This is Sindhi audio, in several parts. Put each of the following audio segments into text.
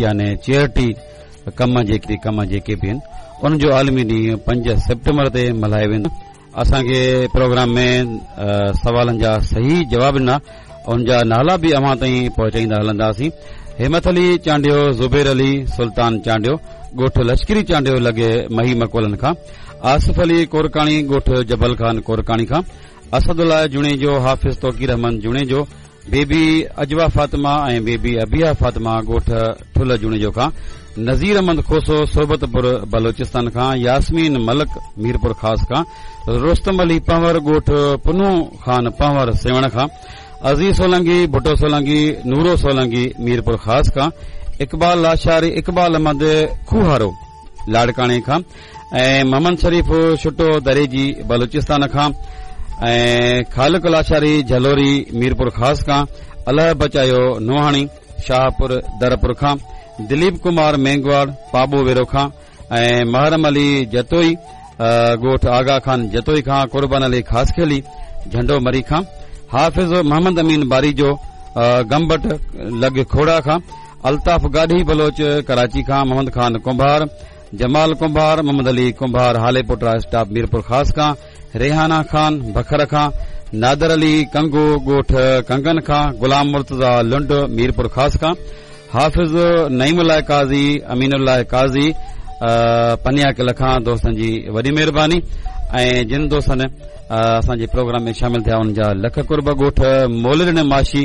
يعني چيئرٽي ڪم جيڪي ڪم جيڪي به آهن ان جو عالمي ڏينهن 5 سيپٽمبر تي ملهايو ويندو. اسان کي پروگرام ۾ سوالن جا صحيح جواب ڏنا ان جا نالا به اوهان تائين پهچائيندا هلنداسين. همت علي چانڊيو، زبير علي، سلطان چانڊيو، ڳوٺ لشڪري چانڊيو لڳي مهي مڪولن کان، آصف علي ڪورڪاڻي ڳوٺ جبل خان ڪورڪاڻي کان، اسد الله جوڻيجو، حافظ توقير احمد جوڻيجو، بيبي عجوه فاطمه ۽ بيبي ابيها فاطمه ڳوٺ ٺلهه جوڻيجو کان، نذير احمد کوسو صحبت پور بلوچستان کان، ياسمين ملڪ ميرپور خاص کان، رستم علي پنهور ڳوٺ پنهون خان پنهور سيوهڻ کان، عزيز سولنگي، ڀٽو سولنگي، نورو سولنگي ميرپور خاص کان، اقبال لاشاري، اقبال احمد کوهارو لاڙڪاڻي کان، ۽ محمد شريف ڇٽو دريجي بلوچستان کان ۽ خالق لاشاري جهلوري ميرپور خاص کان، الهه بچايو نوحاڻي شاهپور درپور کان، دليپ ڪمار مينگواڙ پاٻو ويرو کان ۽ محرم علي جتوئي ڳوٺ آغا خان جتوئي کان، قربان علي خاصخيلي جهنڊو مري کان، حافظ محمد امين باريجو گمبٽ لڳ کوڙا کان، الطاف گاڏهي بلوچ ڪراچي کان، محمد خان ڪنڀار، جمال ڪنڀار، محمد علي ڪنڀار هاليپوٽا اسٽاپ ميرپورخاص کان، ريحانه خان بکر کان، نادر علي ڪنگو ڳوٺ ڪنگن کان، غلام مرتضيٰ لنڊ ميرپورخاص کان، حافظ نعيم الله قاضي، امين الله قاضي پنياڪل کان دوستن جي وڏي مهرباني ۽ جن دوستن اسان جي پروگرام ۾ شامل ٿيا انهن جا لک قرب. ڳوٺ مولڏني ماشي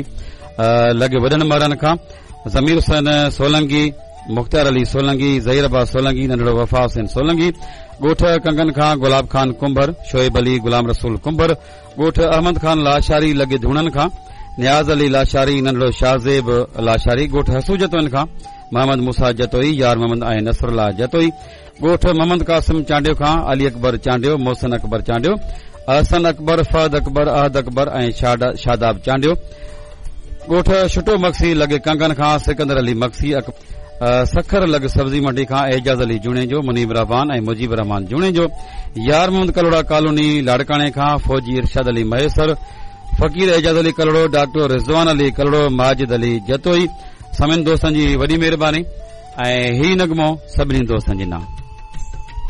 لڳ وڏن مرن کان ضمير حسين سولنگي، مختيار علي سولنگي، ظهير عباس سولنگي، ننڍڙو وفا حسين سولنگي، ڳوٺ ڪنگن کان گلاب خان ڪنڀر، شعيب علي، غلام رسول ڪنڀر، ڳوٺ احمد خان لاشاري لڳ ڌوڻن کان نياز علي لاشاري، ننڍڙو شاهزيب لاشاري، ڳوٺ حسو جتوئين کان محمد موسيٰ جتوئي، يار محمد ۽ نصر الله جتوئي، ڳوٺ محمد قاسم چانڊيو کان علي اڪبر چانڊيو، محسن اڪبر چانڊيو، احسن اڪبر، فهد اڪبر، احد اڪبر ۽ شاداب چانڊيو، ڳوٺ ڇٽو مگسي لڳ ڪنگن کان سڪندر علي مگسي، سکر لڳ سبزي منڊي کان اعجاز علي جوڻيجو، منيب الرحمان ۽ مجيب الرحمان جوڻيجو، يار محمد ڪلهوڙا ڪالوني لاڙڪاڻي کان فوجي ارشاد علي مهيسر، فقير اعجاز علي ڪلهوڙو، ڊاڪٽر رضوان علي ڪلهوڙو، ماجد علي جتوئي سمين دوستن جي وڏي مهرباني ۽ هي نغمو سڀني دوستن جي نانء.